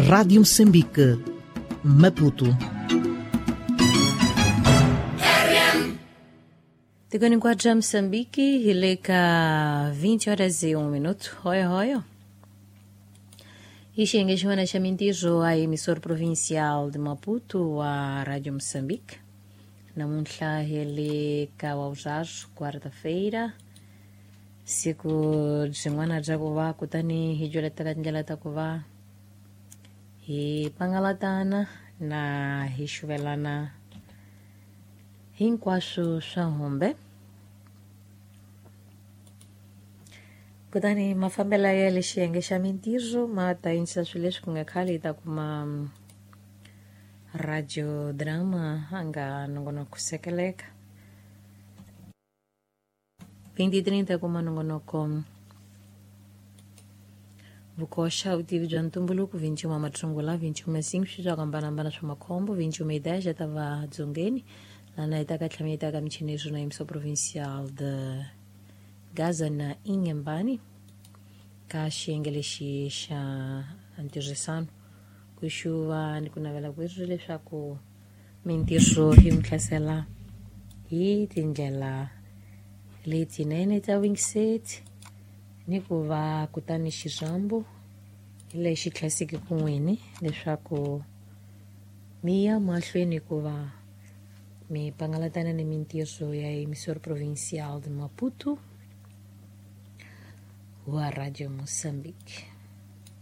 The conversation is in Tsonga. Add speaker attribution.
Speaker 1: Rádio Moçambique, Maputo.
Speaker 2: Tikoni nkwatra Moçambique, hileka 20 horas e 1 minuto. Hoyo hoyo. Ixi xin'wana xa mintirho a emissora provincial de Maputo, a Rádio Moçambique. Namuntlha hi le ka Wawuzhazo, quarta-feira. Siku byin'wana bya ku va kutani hi joletela tindlela ta ku va hi pangalatana na hi xuvelana hinkwaswo swa humbe. Kutani mafambelo ya le xiyenge xa mintirho ma ta yinisa swilo leswi ku nga khale hi ta kuma radio drama a nga nongonoko sekeleka 2030 kuma nongonoko vukoxa vutivi bya ntumbuluko 21 matlungula 25 swi swa ku hambanahambana swa makhombo 21 ya ta va dzongeni lana hi ta ka tlhama yi ta ka michini na emissão provincial de Gaza na Inhambane ka xiyenge lexi xa ntirhisano ku xuva ni ku navela ku ri leswaku mintirho yi n'wi hlasela hi tindlela letinene ta wingiseti ni ku va kutani xirhambo lexi tlhaseke kun'wini leswaku mi ya mahlweni ku va mi pangalatana ni mintirho ya emissora provincial de Maputo wa Radio Moçambique.